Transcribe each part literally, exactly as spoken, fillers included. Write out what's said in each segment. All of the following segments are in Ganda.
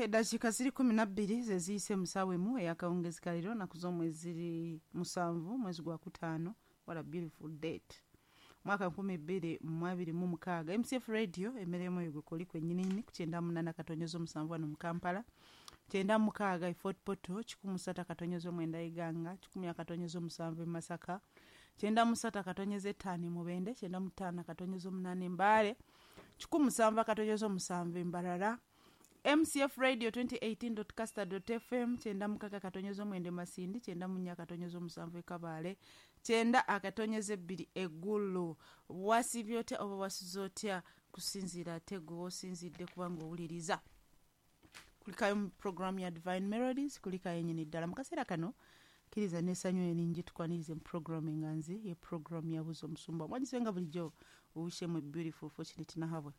Eddakiika ziri kumi na bbiri ze ziyise mu ssaawa emu ey'akawungeezi ka leero, nnaku z'omwezi ziri musanvu, mwezi gwa kutaano. What a beautiful date! Mwaka nkumi bbiri mu abiri mu mukaaga. M C F Radio, emirimu eyo gwekoli kwennyininyini ku kyenda munaana katonyezo musanvu wano mu Kampala, kyenda mukaaga e Fort Portal, kikumi ssatu akatonyeza omwenda Iganga, kikumi akatonyeza omusanvu e Masaka, kyenda mu ssatu akatonyeza etaano e Mubende, kyenda mu ttaano akatonyeza omunaana e Mbaale, kikumi musanvu akatonyeza omusanvu e Mbarara. M C F Radio twenty eighteen caster fm, kyenda mukaaga akatonyeza omwenda e Masindi, kyenda mu nnya akatonyeza omusanvu e Kabaale, kyenda akatonyeza ebbiri eggulu. Wasiibye otya oba wasize otya, kusinziira ate gwe wosinzidde kubanga owuliriza? Kulikayo mu programu ya Divine Melodies, kulikayo enyini ddala mu kaseera kano. Kkiriza n'essanyu eringi tukwanirize mu programu enganzi ye programu yabuza omusumba. Mwagize nga bulijjo owishemu beautiful Fortunate Nahabwe.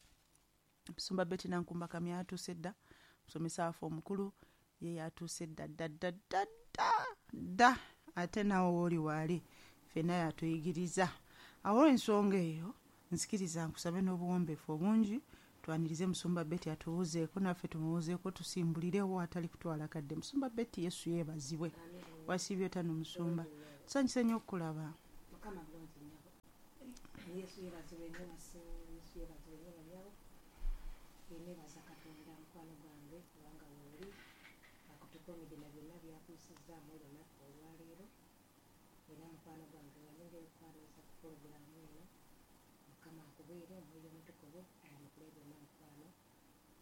Musumba Betty Nankumba Kamya atuuse dda, musomesa waffe omukulu ye yatuuse dda dda dda dda dda dda, ate naawe wooli waali ffenna yatuyigiriza. Awo ensonga eyo nzikiriza nkusabe n'obuwombeefu obungi twanirize Musumba Betty, atubuuzeeko naffe tumubuuzeeko, tusimbulirewo atali kutwala kadde. Musumba Betty, Yesu yeebazibwe. Wasiibye otano, musumba? Tusanyuse nnyo okukulaba. Mukama bulungi nnyabo. Yesu yeebazibwe nnyo, basi- Yesu yeebazibwe nnyo, bannyabo. Neebaza Katonda, mukwano gwange, kubanga weoli akutukuumidde na byonna byakuyisizzaamu olunaku olwaleero. Era mukwano gwange, wanyongera okukwaniriza ku pulogulaamu eno. Mukama akubeere, Omwoyo Omutukuvu ayanukule byonna, mukwano,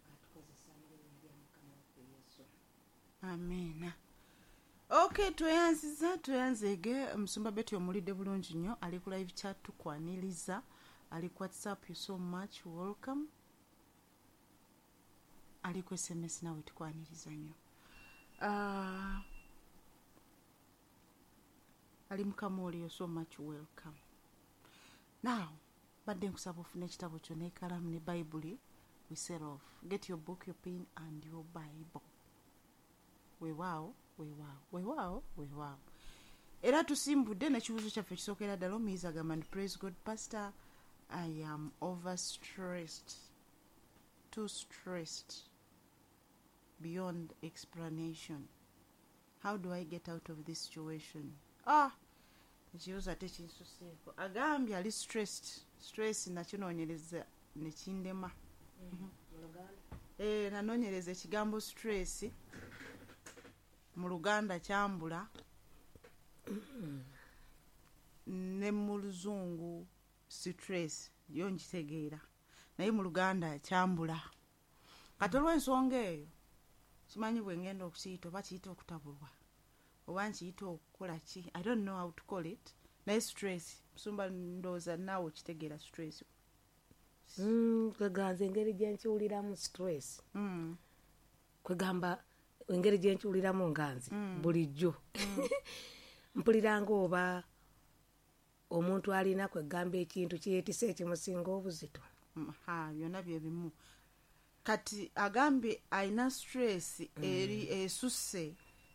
ng'atukozesa mu linnya lya Mukama waffe Yesu. Amiina. Ok, tweyanziza, tweyanzeege. Musumba Betty omulidde bulungi nnyo, ali ku live chat tukwaniriza, ali ku WhatsApp, you so much welcome, ali ku S M S nawe tukwaniriza nnyo. uh, ali mukamuoli, you so much welcome. Now badde nkusaba ofune ekitabo kyo n'ekalamu ne Bayibuli. We set off. Get your book, your pen and your Bible. Weewaawo, weewaawo, weewaawo, weewaawo. Era tusimbudde n'ekibuuzo kyaffe ekisookera ddala. Omuyizi agamba nti, "Praise God, Pastor. I am overstressed, too stressed beyond explanation. How do I get out of this situation?" Ah, ekibuuzo ate kinsuseeko. Agambye ali stressed. Stress nakinoonyereza nekindema. Mu Luganda? Eh, nanoonyereza ekigambo stress mu Luganda kyambula, ne mu Luzungu stress yo nkitegeera, naye mu Luganda kyambula. Kati olw'ensonga eyo simanyi bwe ngenda okukiyita, oba kiyita okutabulwa oba nkiyita okukola ki, I don't know how to call it, naye stress, musumba, ndowooza naawe okitegeera stress. Mm, kweganza engeri gyenkiwuliramu stress, mm. kwegamba engeri gyenkiwuliramu nga nze Mm. bulijjo mpulira nga oba omuntu alina kwegamba ekintu kyetise ekimusinga obuzito. Mm, ha, byonna byebimu. Kati agambye alina stress eri esusse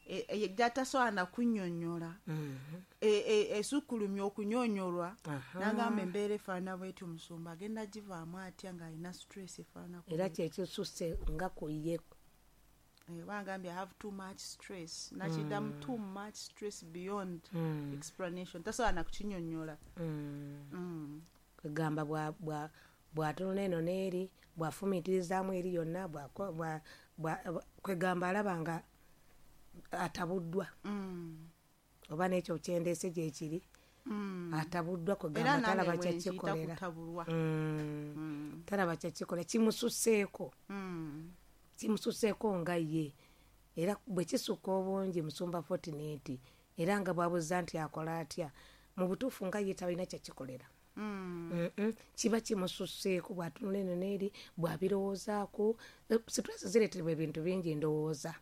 e- e- gyatasobola nakunnyonnyola, E- e- esukkulumya okunyonyolwa. Aha. Nagamba embeera efaanana bwetyo, omusumba agenda givaamu atya ng'alina stress efaanana Era kyekisusse nga ku ye. Eh, bagambye, "I have too much stress." Nakiddamu, too much stress beyond Mm. explanation, tasobola nakukinyonnyola. Mm. Mm. Kwegamba bwa- bwa- bw'atunula eno n'eri, bw'afumiitirizaamu eri yonna, bw'ako- bwa- bwa- kwegamba alaba nga atabuddwa. Mm. Oba n'ekyo kyendeese gyekiri, Mm. atabuddwa, Era kwegamba nange talaba bwe nkiyita kyakikolera. kutabulwa. Mm. Mm. Talaba kyakikolera, kimususeeko. Mm. Kimususeeko nga ye. Era bwe kisukka obungi, musumba Fortunate, era nga bwabuuza nti akola atya, mu butuufu nga ye talina kyakikolera. Mm. Mm-mm. Kiba kimususeeko, bw'atunula eno n'eri, bw'abirowoozaako. Eh, stress zireetebwa ebintu bingi, ndowooza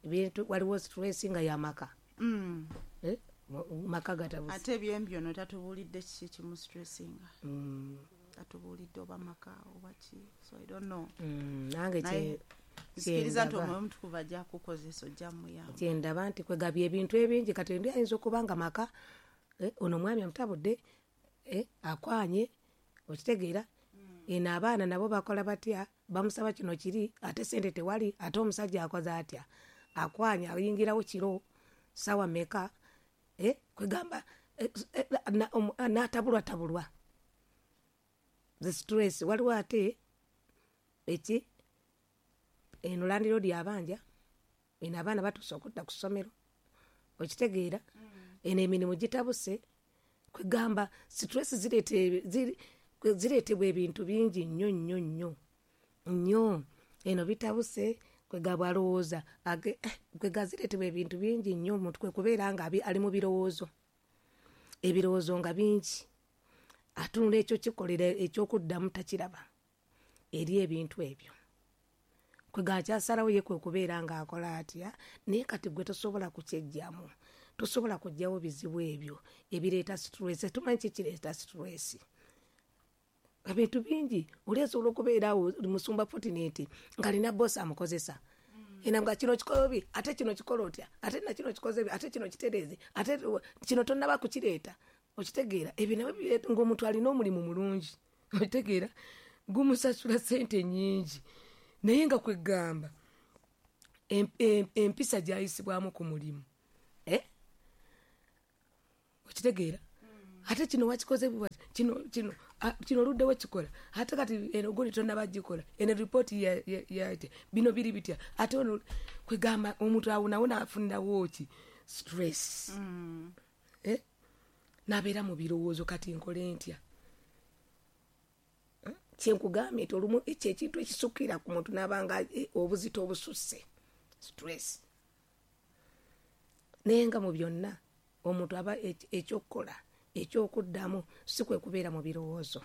ebintu waliwo stress nga yamaka. Mm. Eh, mu- maka gatabuse. Ate ebyembyono tatubuulidde kiki kimu stressinga. Mm, Tatubuulidde oba maka oba ki, so I don't know. mm, nange Naye kye- nzikiriza nti kyendaba. Omwoyo Omutukuvu ajja kukozesa, ojja muyamba. Kyendaba nti kwegabya ebintu ebingi. Kati ndi ayinza okuba nga maka, eh, ono omwami amutabudde, eh, akwanye, okitegeera, eno abaana nabo bakola batya. Bamusaba kino kiri, ate sente tewali, ate omusajja akoze atya? Akwanya ayingirawo kiro sawa meka, eh, kwegamba eh, eh, n'atabulwa tabulwa. The stress waliwo ate eki eno landlord yabanja, eno abaana batuuse okudda ku ssomero, okitegeera, eno emirimu gitabuse, kwegamba stress zireete zireetebwa ebintu bingi nnyo nnyo nnyo nnyo. Eno bitabuse, kwegamba alowooza kwega zireetebwa ebintu bingi nnyo, omuntu kwe kubeera nga ali mu birowoozo, ebirowoozo nga bingi, atunula ekyo kikolera ekyokuddamu takiraba eri ebintu ebyo. Kwega akyasalawo ye kwe kubeera ng'akola atya, naye kati gwe tosobola kukyejjamu, tosobola kuggyawo bizibu ebyo ebireeta stress. Tumanyi ki kireeta stress? Ebintu bingi. Oli asobola okubeera awo musumba Fortunate ng'alina boss amukozesa, ena nga kino kikola obi, ate kino kikola otya, ate na kino kikoze, ate kino kitereeze, ate kino tonnaba kukireeta, okitegeera. Ebyo nabyo bireeta ng'omuntu alina omulimu mulungi, okitegeera, gumusasula ssente nnyingi, naye nga kwegamba empisa gy'ayisibwamu ku mulimu, eh? Okitegeera, ate kino wakikoze kino kino kino oluddewo kikola, ate kati eno gundi tonnaba gikola, eno ripooti yate bino biri bitya, ate ono kwegamba omuntu awo nawo n'afunirawo ki stress, eh? N'abeera mu birowoozo, kati nkole ntya? Kyenkugambye nti olumu ekyo ekintu ekisukkira ku muntu n'abanga obuzito obususse, stress. Naye nga mu byonna omuntu aba ekyokukola ekyokuddamu si kwe kubeera mu birowoozo.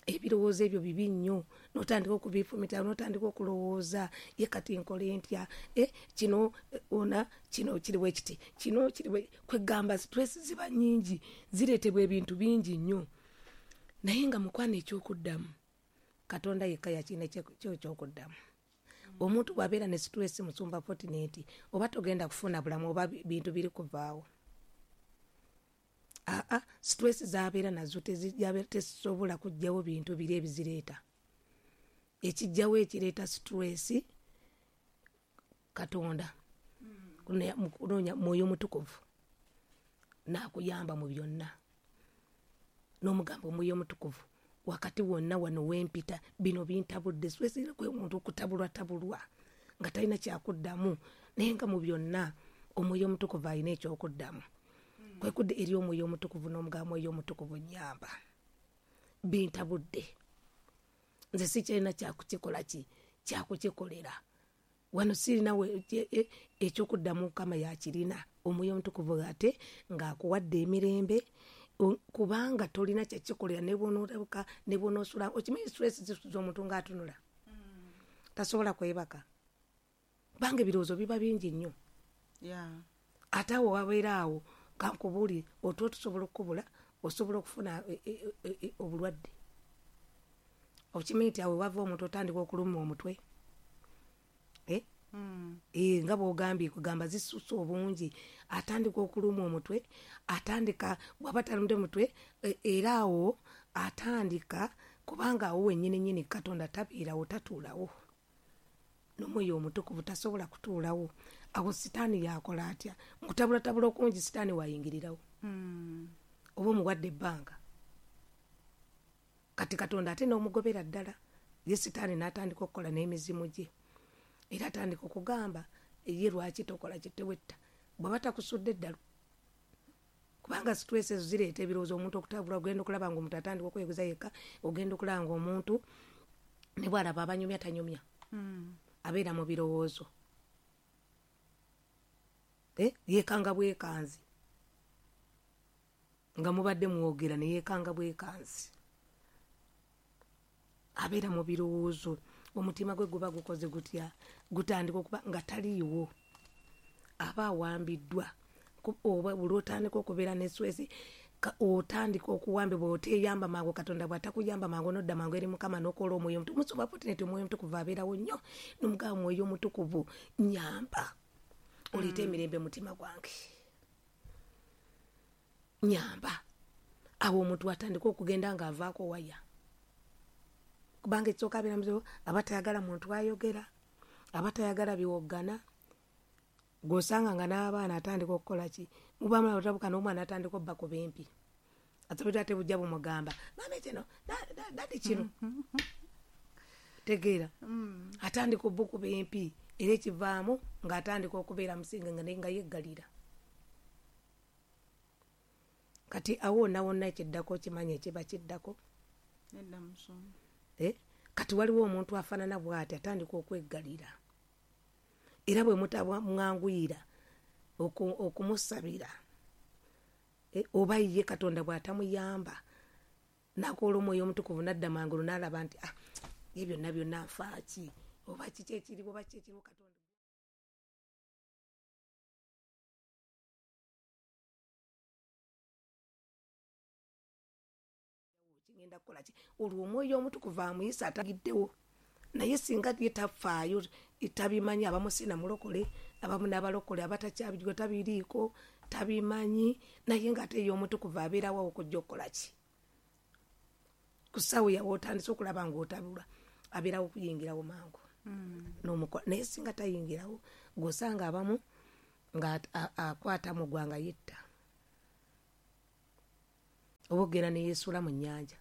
Ebirowoozo ebyo bibi nnyo, n'otandika okubifumita, n'otandika okulowooza, ye kati nkole ntya, eh, kino ona kino kiri bwe kiti, kino kiri bwe, kwegamba stress ziba nnyingi, zireetebwa ebintu bingi nnyo. Naye nga mukwano ekyokuddamu Katonda yekka yakirina ekyokuddamu. Omuntu bw'abeera ne stress musumba Fortunate, oba togenda kufuna bulamu oba bintu biri kuvaawo. Aa, stress z'abeera nazo tezisobola kuggyawo bintu biri ebizireeta. Ekijjawo ekireeta stress Katonda kunoonya Mwoyo Mutukuvu n'akuyamba mu byonna, n'omugamba Omwoyo Omutukuvu wakati wonna wano wempita bino bintabudde. Stress kwe muntu okutabulwa tabulwa nga talina kyakuddamu, naye nga mu byonna Omwoyo Omutukuvu alina ekyokuddamu. Kwe kudda eri Omwoyo Omutukuvu n'omugamba Omwoyo Omutukuvu nnyamba, bintabudde, nze sikyalina kyakukikola ki kyakukikolera wano, sirina ekyokuddamu, Mukama yakirina. Omwoyo Omutukuvu ate ng'akuwadde emirembe, kubanga tolina kyakikolera ne bw'onootabuka ne bw'onoosula. Okimanyi stress zisuza omuntu ng'atunula, tasobola kwebaka, kubanga ebirowoozo biba bingi nnyo. Ate awo wabeera awo kankubuulire, otulo tusobola okukubula, osobola okufuna obulwadde. Okimanyi nti awo wava omuntu otandika okuluma omutwe, eh? Eh, nga bw'ogambye kugamba zisusse obungi, atandika okuluma omutwe, atandika bw'aba talumde mutwe, era awo atandika, kubanga awo wennyini nnyini Katonda tabeerawo, tatuulawo, n'Omwoyo Omutukuvu tasobola kutuulawo. Awo sitaani yakola atya? Mukutabulatabula okungi sitaani wayingirirawo, oba omuwadde ebbanga. Kati Katonda ate n'omugobera ddala, ye sitaani n'atandika okukola n'emizimu gye, era atandika okugamba ye lwaki tokola kitewetta bw'aba takusudde eddalu, kubanga stress ezo zireeta ebirowoozo, omuntu okutabula. Ogenda okulaba nga omuntu atandika okweguza yekka, ogenda okulaba nga omuntu ne bw'alaba abanyumya tanyumya, abeera mu birowoozo, eh, yeekanga bwekanzi, nga mubadde mwogera ne yeekanga bwekanzi, abeera mu birowoozo, omutima gwe guba gukoze gutya, gutandika okuba nga taliiwo, aba awambiddwa. Oba buli otandika okubeera ne stress, otandika okuwambibwa, oteeyamba mangu. Katonda bw'atakuyamba mangu n'odda mangu eri Mukama n'okola Omwoyo Omutukuvu. Musumba Fortunate Omwoyo Omutukuvu abeerawo nnyo, n'omugamba Omwoyo Omutukuvu nnyamba, oleete emirembe mutima gwange, nnyamba. Awo omuntu atandika okugenda ng'avaako waya, Kubanga ekisooka abeera muzibu, aba tayagala muntu ayogera, aba tayagala biwoggana. Gw'osanga nga n'abaana atandika okukola ki, muba otabuka n'omwana atandika obba ku bimpi, ate ate bujja bumugamba mama kino, daddy kino, tegeera. Atandika obbukuba empi, era ekivaamu ng'atandika okubeera musinga nga naye nga yeggalira. Kati awo wonna wonna ekiddako kimanya ekiba kiddako. Eh? Kati waliwo omuntu afaanana bw'ati atandika okweggalira, era bwe mutamwanguyira okumusabira, eh, oba ye Katonda bw'atamuyamba n'akola Omwoyo Omutukuvu n'adda mangulu n'alaba nti ah, ye byonna byonna nfaaki, oba kiki ekiriwo, oba kiki ekiriwo Katonda. Kigenda kukola ki? Olwo Omwoyo Omutukuvu amuyisa atagiddewo. Naye singa ye tafaayo, tabimanyi, abamu si na mulokole, abamu n'abalokole abatakyabijwa tabiriiko, tabimanyi, naye ng'ate ye Omutukuvu abeerawo okujja okukola ki? Ku ssaawa yawe otandise okulaba ng'otabula, abeerawo okuyingirawo mangu. N'omukola. Naye singa tayingirawo, gw'osanga abamu nga akwata mu ggwanga yetta, oba ogenda ne yeesuula mu nnyanja.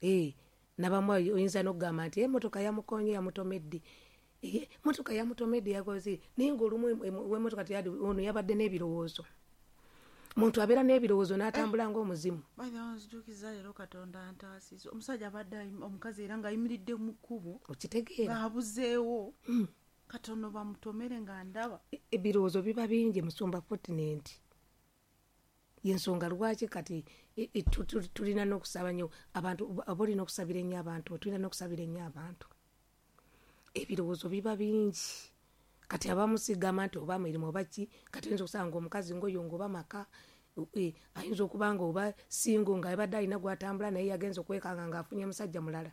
Eh, nabamu oyinza n'okugamba nti emmotoka yamukonye yamutomedde, emmotoka yamutomedde yakoze, naye ng'olumu w'emmotoka teyadi, ono yabadde n'ebirowoozo. Muntu abeera n'ebirowoozo n'atambula ng'omuzimu. Nzijukiza leero Katonda antaasiza. Omusajja abadde omukazi era ng'ayimiridde mu kkubo, okitegeera, ng'abuzeewo katono bamutomere nga ndaba. Ebirowoozo biba bingi musumba Fortunate. Yensonga lwaki kati tulina n'okusaba nnyo abantu, oba olina okusabira ennyo abantu, tulina n'okusabira ennyo abantu. Ebirowoozo biba bingi. Kati abamu sigamba nti oba mirimu oba ki, kati oyinza okusanga omukazi ng'oyo ng'oba maka, ayinza okuba nga oba singo nga abadde alina gw'atambula naye yagenze okwekanga ng'afunye musajja mulala.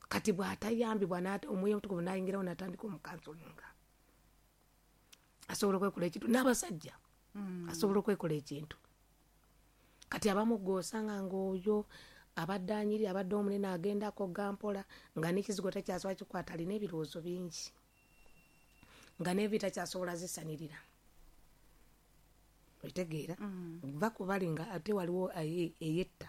Kati bw'atayambibwa Omwoyo Omutukuvu n'ayingirawo n'atandika omukansolinga, asobola okwekola ekintu. N'abasajja asobola okwekola ekintu. Kati abamu gw'osanga ng'oyo abadde anyirira, abadde omunene, agenda akogga mpola nga n'ekizigo takyasobola kikwata, alina ebirowoozo bingi nga n'envi takyasobola zisanirira. Otegeera? Va ku bali nga ate waliwo eyetta,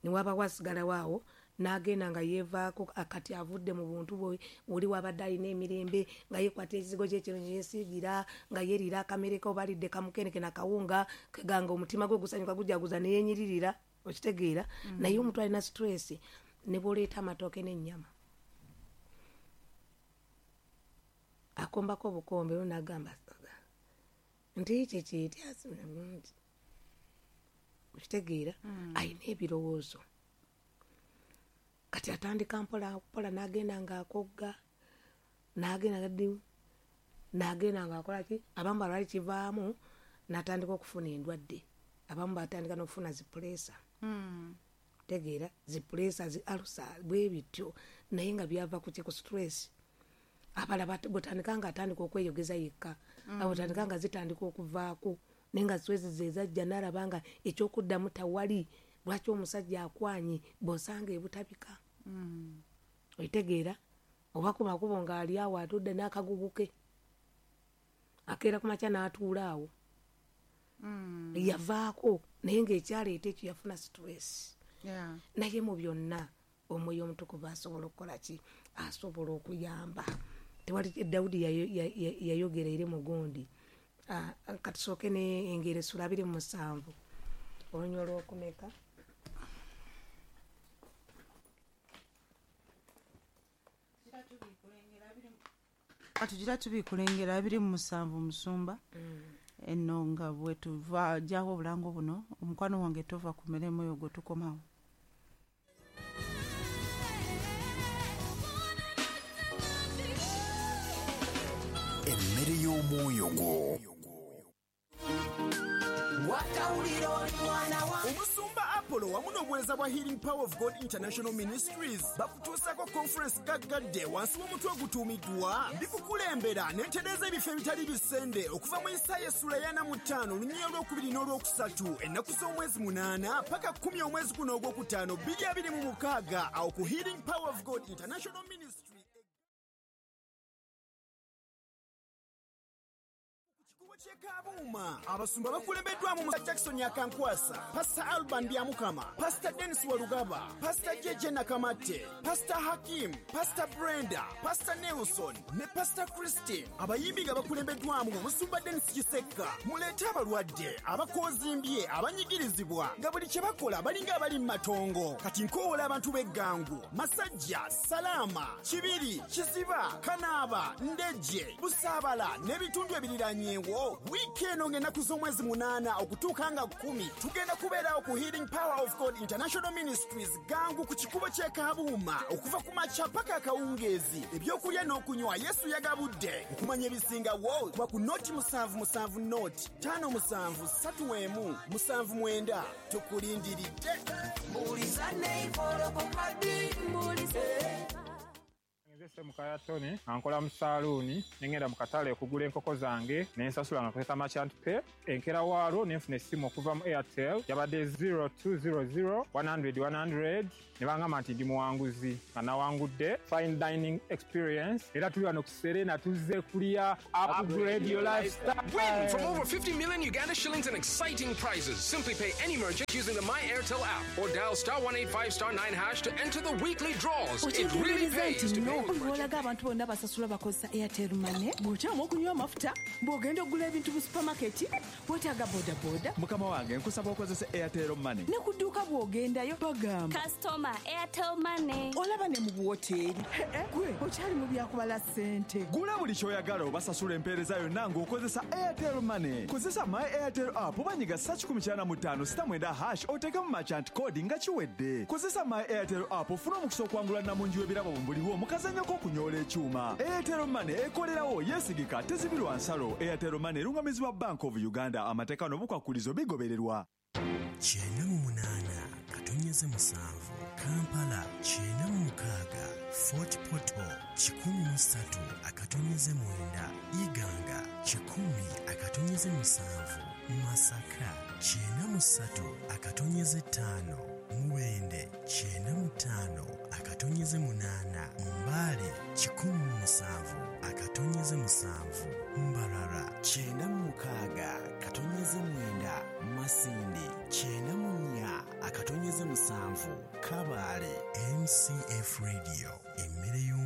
ne waba wasigalawo awo n'agenda nga yeevaako, kati avudde mu buntu bwe oli wabadde alina emirembe nga yeekwata ekizigo kye kino kyesiigira, nga yeeriira akamere ke oba alidde kamukeneke nakawunga, keganga omutima gwe gusanyuka gujaguza ne yeenyiririra. Okitegeera? Naye omuntu alina stress ne bw'oleeta amatooke n'ennyama akombako obukombe olwo n'agamba nti kiki ti, okitegeera? Alina ebirowoozo. Kati atandika mpola mpola n'agenda ng'akogga, n'agenda n'agenda ng'akola ki, abamu balwali kivaamu n'atandika okufuna endwadde, abamu batandika n'okufuna zi puleesa. Tegeera, zi puleesa, zi alusa, bwe bityo, naye nga byava ku ki, ku stress. Abalala botandika ng'atandika okweyogeza yekka, abotandika nga zitandika okuvaako, naye nga stress ze zajja n'alaba nga ekyokuddamu tawali. Lwaki omusajja akwanye bw'osanga ebutabika? Otegeera? Oba ku makubo ng'ali awo atudde n'akagugu ke, akeera ku makya n'atuula awo, yavaako, naye ng'ekyaleeta ekyo yafuna stress. Naye mu byonna Omwoyo Omutukuvu asobola okukola ki? Asobola okuyamba. Tewali Dawudi yayogera eri mugundi. Katusooke n'engero essula abiri mu musanvu olunywa olw'okumeka. Katugira tubiikula engero abiri mu musanvu musumba. Eno nga bwe tuva jjawo obulango buno, omukwano wange tova ku mirimu eyo gwe tukomawo. Emmere y'omwoyo gwo. Omusumba Chapel wamu n'obuweereza bwa Healing Power of God International Ministries bakutuusaako conference gaggadde wansi w'omutwe ogutuumiddwa ndikukulembera n'entereeza ebifo ebitali bisende okuva mu Isaaya essula ya ana mu ttaano olunyiriri olwokubiri n'olwokusatu ennaku z'omwezi munaana paka kkumi omwezi guno ogwokutaano bbiri abiri mu mukaaga awo ku Healing Power of God International Ministry Kyekabuuma abasumba bakulembeddwamu Musa Jackson Akankwasa, Pastor Alban Byamukama, Pastor Dennis Walugaba, Pastor J J Nakamatte, Pastor Hakim, Pastor Brenda, Pastor Nelson ne Pastor Christine. Abayimbi nga bakulembeddwamu Omusumba Dennis Kisekka. Muleete abalwadde, abakoozimbye, abanyigirizibwa nga buli kye bakola balinga abali mu matongo. Kati nkoowola abantu b'Eggangu, Masajja, Salaama, Kibiri, Kiziba, Kanaaba, Ndejje, Busaabala n'ebitundu ebiriranyeewo. Wiiki eno ng'ennaku z'omwezi munaana okutuuka nga kkumi tugenda kubeerawo ku Healing Power of God International Ministries Gangu ku kikubo ky'e Kabuuma okuva ku makya paka akawungeezi. Ebyokulya n'okunywa Yesu yagabudde. Okumanya ebisingawo kuba ku noti musanvu musanvu noti ttaano musanvu ssatu emu musanvu mwenda. Tukulindiridde. Nze Mukaya Tony, ankola mu saaluuni, nengenda mu katale okugula enkoko zange, ne nsasula nga nkozesa merchant pay. Enkera waalwo ne nfuna essimu okuva mu Airtel, yabadde zero two zero zero one hundred one hundred, ne bangamba nti ndi muwanguzi, nga nawangudde fine dining experience. Era tuli wano ku Serena tuzze kulya upgrade your lifestyle. Win from over fifty million Uganda shillings and exciting prizes. Simply pay any merchant using the My Airtel app or dial star one eight five star nine hash to enter the weekly draws. It really pays to pay. Bw'olaga abantu bonna basasula bakozesa Airtel Money, bw'okyama okunywa amafuta, bw'ogenda okugula ebintu mu supermarket, weetaaga bodaboda. Mukama wange nkusaba okozese Airtel Money. Ne ku dduuka bw'ogendayo bagamba Customer Airtel Money. Olaba ne mu buwoteeri. Gwe okyali mu byakubala ssente. Gula buli ky'oyagala obasasula empeereza yonna ng'okozesa Airtel Money. Kozesa My Airtel app oba nyiga ssa kikumi kyana mu ttaano sita mwenda hash oteekemu merchant code nga kiwedde. Kozesa My Airtel app ofune omukisa okwangula nnamungi w'ebirabo buliwo mu kazannyo k'okunyoola ekyuma. Airtel Money ekolerawo, yeesigika, tezibirwa nsalo. Airtel Money erungamizibwa Bank of Uganda. Amateeka n'obukwakulizo bigobererwa. Kyenda mu munaana katonyeze musanvu Kampala, kyenda mu mukaaga Fort Portal, kikumi mu ssatu akatonyeze mwenda Iganga, kikumi akatonyeze musanvu Masaka, kyenda mu ssatu akatonyeze ttaano Mubende, kyenda mu ttaano akatonyeze munaana Mbale, kikumi mu musanvu akatonyeze musanvu Mbarara, kyenda mu mukaaga katonyeze mwenda Masindi, kyenda mu nnya akatonyeze musanvu Kabale. M C F Radio, emmere y'omu